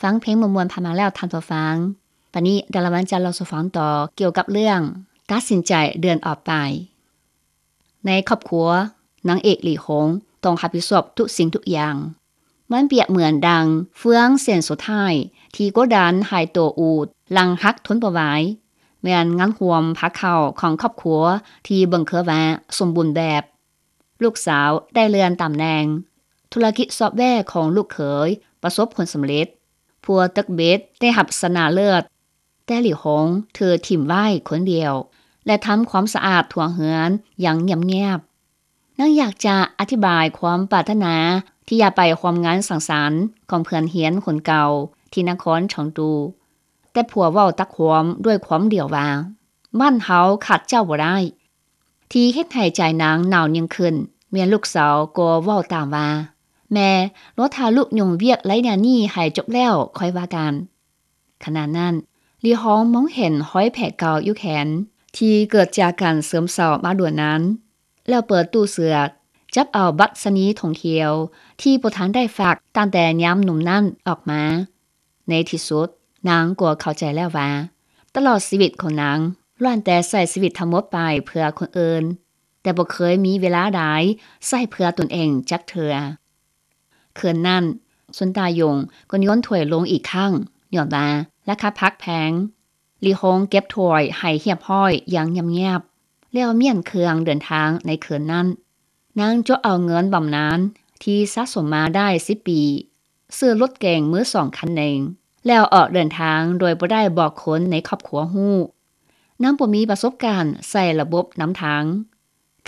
ຟັງເພງມ່ວນໆຜ່ານມາແລ້ວທ່ານຜູ້ຟັງ. ບັດນີ້ດາລາວັນຈະເລົ່າສູ່ຟັງຕໍ່ກ່ຽວກັບເລື່ອງຕັດສິນໃຈເດີນອອກໄປ. ໃນຄອບຄົວ, ນາງເອກ ຫຼີຫົງ ຕ້ອງຮັບຜິດຊອບທຸກສິ່ງທຸກຢ່າງ. ມັນປຽບເໝືອນດັ່ງເຟືອງເສັ້ນສຸດທ້າຍທີ່ກົດດັນໃຫ້ໂຕອູດຫຼັງຫັກທົນບໍ່ໄຫວ, ແມ່ນງານຮ່ວມພາເຂົ້າຂອງຄອບຄົວທີ່ເບິ່ງຄືວ່າສົມບູນແບບ. ລູກສາວໄດ້ເລື່ອນຕຳແໜ່ງ, ທຸລະກິດຊອບແວຂອງລູກເຂີຍປະສົບຜົນສຳເລັດ, ພົວເຕັກເບັດໄດ້ຮັບຊະນະເລີດ, ແຕ່ຫຼີຫົງຖືກຖິ້ມໄວ້ຄົນດຽວ ແລະ ທຳຄວາມສະອາດທົ່ວເຮືອນຢ່າງງຽບໆ. ນາງຢາກຈະອະທິບາຍຄວາມປາດຖະໜາທີ່ຢາກໄປຮ່ວມງານສັງສັນຂອງເພື່ອນຮຽນຄົນເກົ່າທີ່ນະຄອນເຊີງຕູ, ແຕ່ຜົວເວົ້າຕັດຄວາມດ້ວຍຄວາມດຽວວ່າ, ບ້ານເຮົາຂາດເຈົ້າບໍ່ໄດ້. ທີ່ເຮັດໃຫ້ໃຈນາງໜາວຍິ່ງຂຶ້ນ, ແມ່ນລູກສາວກໍເວົ້າຕາມວ່າ, ແມ່, ລໍຖ້າລູກຫຍຸ້ງວຽກໄລຍະນີ້ໃຫ້ຈົບແລ້ວຄ່ອຍວ່າກັນ. ຂະນະນັ້ນ, ຫຼີຫົງມອງເຫັນຮອຍແຜເກົ່າຢູ່ແຂນ ທີ່ເກີດຈາກການເສີມເຊົາມາດົນນານ, ແລ້ວເປີດຕູ້ເສືອ, ຈັບເອົາບັດຊະນີຖົງຂຽວທີ່ບໍ່ທັນໄດ້ຝາກຕັ້ງແຕ່ຍາມໜຸ່ມນັ້ນອອກມາ. ໃນທີ່ສຸດ, ນາງກໍເຂົ້າໃຈແລ້ວວ່າ ຕະຫຼອດຊີວິດຂອງນາງລ້ວນແຕ່ໃຊ້ຊີວິດທັງໝົດໄປເພື່ອຄົນອື່ນ, ແຕ່ບໍ່ເຄີຍມີເວລາໃດໃຊ້ເພື່ອຕົນເອງຈັກເທື່ອ. ຄືນນັ້ນ, ຊຸນຕາຢົງກໍຍົນຖ້ວຍລົງອີກຄັ້ງ, ຍ້ອນວ່າລາຄາຜັກແພງ. ຫຼີຫົງເກັບຖ້ວຍໃຫ້ຮຽບຮ້ອຍຢ່າງງຽບໆ, ແລ້ວມ້ຽນເຄື່ອງເດີນທາງໃນຄືນນັ້ນ. ນາງຈວກເອົາເງິນບຳນານທີ່ສະສົມມາໄດ້ສິບປີ, ຊື້ລົດເກັງມືສອງຄັນໜຶ່ງ, ແລ້ວອອກເດີນທາງໂດຍບໍ່ໄດ້ບອກຄົນໃນຄອບຄົວຮູ້. ນາງບໍ່ມີປະສົບການໃຊ້ລະບົບນຳທາງ.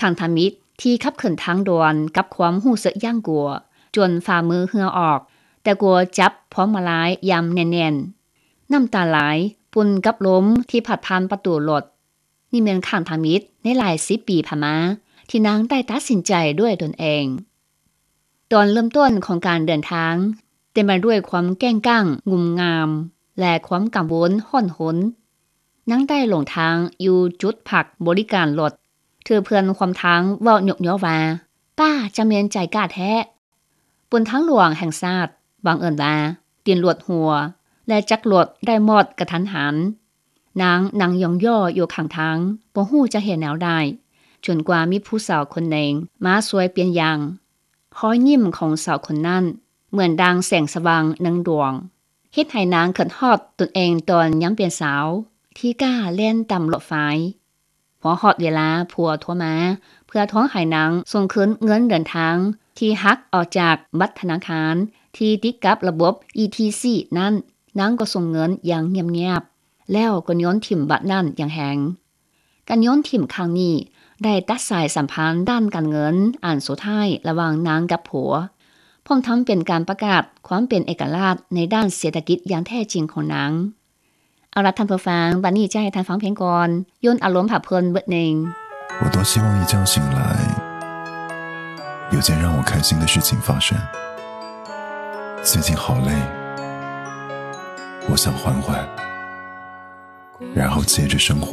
ຄັ້ງທຳອິດທີ່ຂັບຂຶ້ນທາງດ່ວນກັບຄວາມຮູ້ສຶກຢ້ານກົວ ຈົນຝ່າມືເຫື່ອອອກ, ແຕ່ກໍຈັບພວງມາລາຍຢ່າງແໜ້ນໆ. ນ້ຳຕາໄຫຼປົນກັບລົມທີ່ພັດຜ່ານປະຕູລົດ. ນີ້ແມ່ນຄັ້ງທຳອິດໃນຫຼາຍສິບປີຜ່ານມາ ທີ່ນາງໄດ້ຕັດສິນໃຈດ້ວຍຕົນເອງ. ຕອນເລີ່ມຕົ້ນຂອງການເດີນທາງ ເຕັມໄປດ້ວຍຄວາມແກ້ງກ້າງງຸ່ມງາມ ແລະ ຄວາມກັງວົນຮ້ອນຮົນ. ນາງໄດ້ຫຼົງທາງຢູ່ຈຸດພັກບໍລິການລົດ, ຖືກເພື່ອນຮ່ວມທາງເວົ້າຍົກຍໍວ່າ, ປ້າຈະແມ່ນໃຈກ້າແທ້. ບົນທາງຫຼວງແຫ່ງຊາດ, ບັງເອີນວ່າຕີນລົດຮົ່ວ ແລະ ຈັກລົດໄດ້ມອດກະທັນຫັນ. ນາງນັ່ງຢ່ອງຍໍ້ຢູ່ຂ້າງທາງ, ບໍ່ຮູ້ຈະເຮັດແນວໃດ, ຈົນກວ່າມີຜູ້ສາວຄົນໜຶ່ງມາຊ່ວຍປ່ຽນຢາງ. ຮອຍຍິ້ມຂອງສາວຄົນນັ້ນເໝືອນດັ່ງແສງສະຫວ່າງໜຶ່ງດວງ, ເຮັດໃຫ້ນາງຄິດຮອດຕົນເອງຕອນຍັງເປັນສາວ ທີ່ກ້າແລ່ນຕາມລົດໄຟ. ພໍຮອດເວລາຜົວໂທມາເພື່ອທວງໃຫ້ນາງສົ່ງຄືນເງິນເດີນທາງທີ່ຫັກອອກຈາກບັດທະນາຄານທີ່ຕິດກັບລະບົບ ອີ ທີ ຊີ ນັ້ນ, ນາງກໍສົ່ງເງິນຢ່າງງຽບໆ ແລ້ວກໍໂຍນຖິ້ມບັດນັ້ນຢ່າງແຮງ. ການໂຍນຖິ້ມຄັ້ງນີ້ໄດ້ຕັດສາຍສຳພັນດ້ານການເງິນອັນສຸດທ້າຍລະຫວ່າງນາງກັບຜົວ, ພ້ອມທັງເປັນການປະກາດຄວາມເປັນເອກະລາດໃນດ້ານເສດຖະກິດຢ່າງແທ້ຈິງຂອງນາງ. ເອົາລະທ່ານຜູ້ຟັງ, ບັດນີ້ຈະໃຫ້ທ່ານຟັງເພງກ່ອນ, ຢ່ອນອາລົມພັກຜ່ອນເບີດໜຶ່ງ. 我多希望一觉醒来，有件让我开心的事情发生。最近好累，我想缓缓，然后接着生活。